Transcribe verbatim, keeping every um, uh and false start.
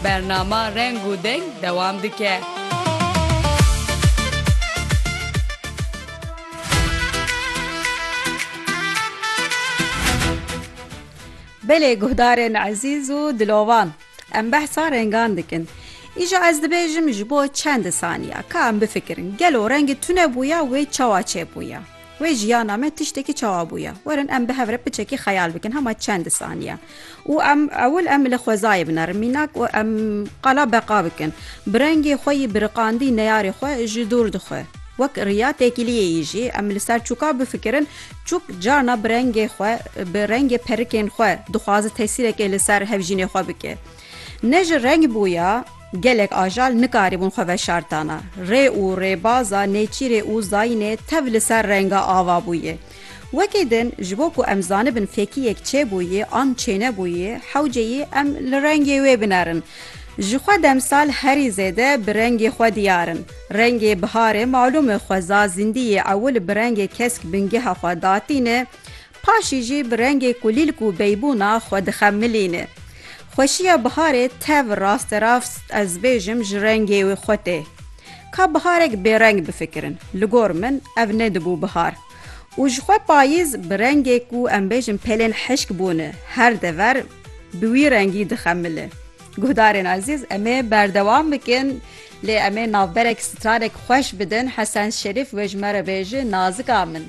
Bernama Reng û Deng dewam dike. Belê guhdarên ezîz û dilovan, em behsa rengan dikin. Îja ez dibêjim ji bo çend saniya, ka em bifikirin, gelo rengê tune bûya, wê çawa çêbûya? Wê jiyana me tiştekî çawa bûya? Werin em bi hev re piçekî xeyal bikin, hema çend saniya. Û em ewil em li xwezayê binerin. Mînak û em qala beqa bikin. Bi rengê xwe yî biriqandî neyarê xwe ji dûr dixwe. Wek riya têkiliyê yî jî em li ser çûka bifikirin, çûk carna bi rengê xwe, bi rengê perikên xwe dixwaze tesîrekê li ser hevjînê xwe bike. Ne ji reng bûya, gelek ajal nikarîbûn xwe veşartana. Rê û rêbaza nêçîrê û zayînê tev li ser renga ava bûye. Wekî din, ji bo ku em zanibin fêkiyek çêbûyî an çênebûyî, hewce yî em li rengê wê binerin. Ji xwe demsal herî zêde bi rengê xwe diyar in. Rengê biharê malûm e xweza zindiyê ewil bi rengê kesk bingeha xwe datîne, paşî jî bi rengê kulîlk û beybûna xwe dixemilîne. Xweşiya biharê tev rasterast ez bêjim ji rengê wê xwe tê. Ka biharek bêreng bifikirin, li gor min ev nedibû bihar. Û ji xwe payîz bi rengê ku em bêjin pelên hişk bûne, her dever bi wî rengî dixemile. Guhdarên ezîz, em ê berdewam bikin, lê em ê navberek stranek xweş bidin. Hesen Şerîf wê ji me re bêje, Nazika min.